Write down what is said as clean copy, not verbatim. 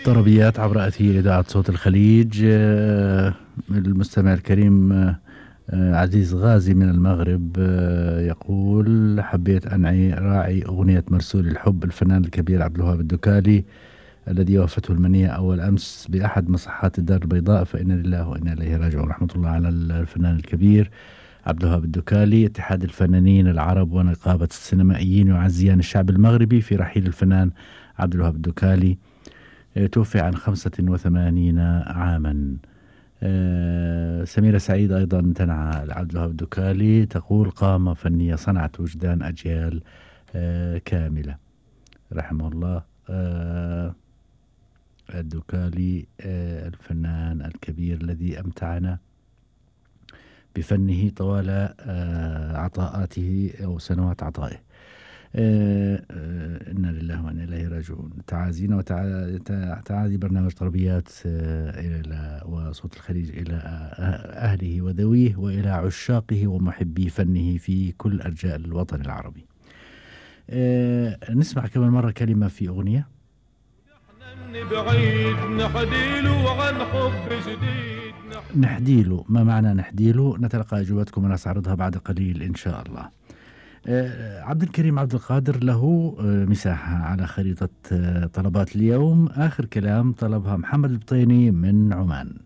طربيات عبر أثير إذاعة صوت الخليج. المستمع الكريم عزيز غازي من المغرب يقول حبيت أن راعي أغنية مرسول الحب الفنان الكبير عبد الوهاب الدكالي الذي وافته المنية أول أمس بأحد مصحات الدار البيضاء، فإنا لله وإنا إليه راجعون. رحمة الله على الفنان الكبير عبد الوهاب الدكالي. اتحاد الفنانين العرب ونقابة السينمائيين يعزيان الشعب المغربي في رحيل الفنان عبد الوهاب الدكالي، توفي عن 85 عاما. سميرة سعيد أيضا تنعى عبد الوهاب الدكالي، تقول قامة فنية صنعت وجدان أجيال كاملة. رحمه الله الدكالي الفنان الكبير الذي أمتعنا بفنه طوال عطاءاته أو سنوات عطائه. إنا لله وإنا إليه راجعون. تعازينا وتعازي برنامج طربيات إلى وصوت الخليج إلى أهله وذويه وإلى عشاقه ومحبي فنه في كل أرجاء الوطن العربي. نسمع كمان مرة كلمة في أغنية. بعيد نحديله عن حب جديد نحديله. ما معنى نحديله؟ نتلقى أجوبتكم ونستعرضها بعد قليل إن شاء الله. عبد الكريم عبد القادر له مساحة على خريطة طلبات اليوم. آخر كلام طلبها محمد البطيني من عمان.